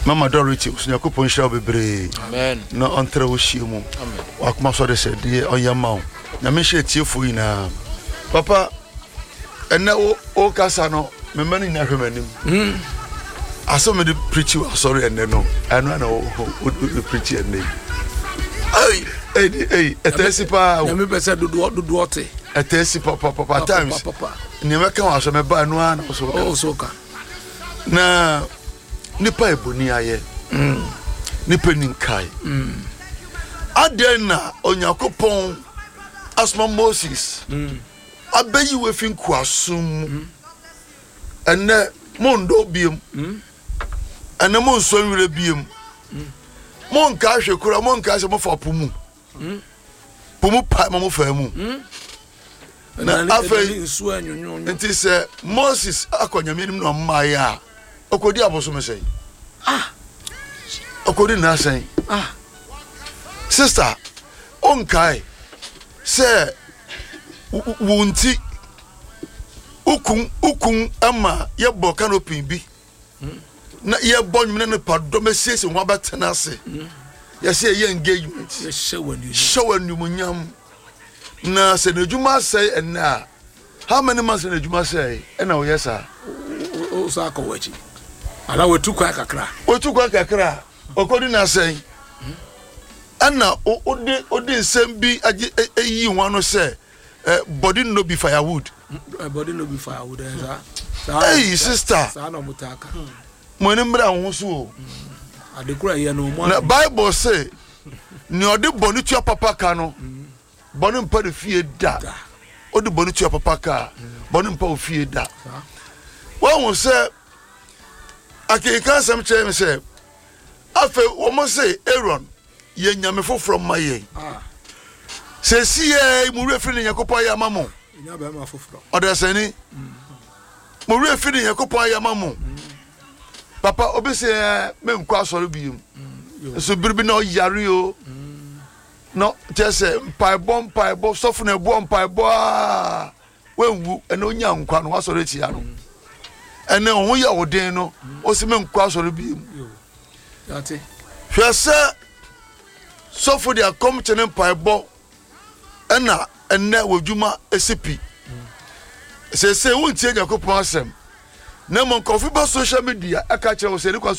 Mama Dorothy, so Nyankopɔn nhyira wo bebree na ɔntrɛ wo hyia mu. Wakoma so de sɛ deɛ ɔnyɛ ma wo. Nyame nhyira atiefoɔ nyinaa. Papa, ɛnɛ wo wokasa no, me mma no nyinaa hwɛ m'anim. Hmm. Asɛm mede preachi wɔ asɔre ɛnɛ no, ɛno na wo preachi ɛnɛ yi. Ei, ei, ei, ɛtɛ si paa. Nyame pɛ sɛ dodoɔ dodoɔ te. Ɛtɛ si papa papa times. Nneɛma ka wɔ asɔre mɛba ɛno ara na wo so ka. Na nipa yɛ boni ayɛ mm. Nipa ni nkae mm. Adɛn na Onyankopɔn asoma Moses abɛyi wo afi nkoasom mu mm. Ɛnɛ mondɔ biem mm. Ɛnɛ monsɔ nwerɛ biem mm. Monka hwɛ kora monka sɛ mofa po mu mm. Po mu pae ma mofaa mu mm. Na afei nti sɛ Moses akɔ Nyame anim na ɔmmaeɛ a, ɔkɔdi abosome sɛn? Ah! Ɔkɔdi nna sɛn? Ah! Sista, wonkae sɛ wo nti wokun wokun ma yɛbɔ canopy bi na yɛbɔ nnwom na nipa dɔm asiesie ho abɛtena ase yɛsɛ yɛyɛ engagement hyɛ wɔ animuonyam. Na sɛ n'adwuma asɛe ɛnnɛ a, how many months na n'adwuma sɛe ɛna ɔyɛ saa? O sa akɔ w'akyi. Ana watu kwan kakra. Watu kwan kakra. Ɔkɔdi n'asɛn. Ɛna ode ode nsɛm bi agye eyi ho ano sɛ body no be firewood. Body no be firewood. Saa. Hey sister. Saa na ɔmo taa ka. Mo ani mmra ho so o. Adekora yɛ no ɔmo. Na Bible say Nea ɔde bɔne tua papa ka no, bɔne mpa ne fie da. Ɔde bɔne tua papa ka a, bɔne mpa wo fie da. Wahu sɛ akenkan asɛm kyerɛ me sɛ afei wɔn se Aaron yɛ nyame foforɔ ma yɛn. Sɛsi yɛ mo werɛ firi ne Nyankopɔn ayɛ ama mo. Ɔdasani mo werɛ firi ne Nyankopɔn ayɛ ama mo. Papa obi sɛ ɛɛ menkɔ asɔre biem nso bere bi na ɔyare o na kyerɛ sɛ mpaebɔ mpaebɔ sɔfo na ɛboɔ mpaebɔ aa wanwu ɛna onya nkwa no wasɔre atia no ɛna ɔho yɛ ɔden no ɔsi menkɔ asɔre biem hwɛ sɛ sɔfo de akɔm kyɛ ne mpaebɔ ɛna ɛnnɛ w'adwuma si pi. Seesei wontie Nyankopɔn asɛm, na mmom nkurɔfo ba social media ɛka kyerɛ wo sɛ ne kwan so.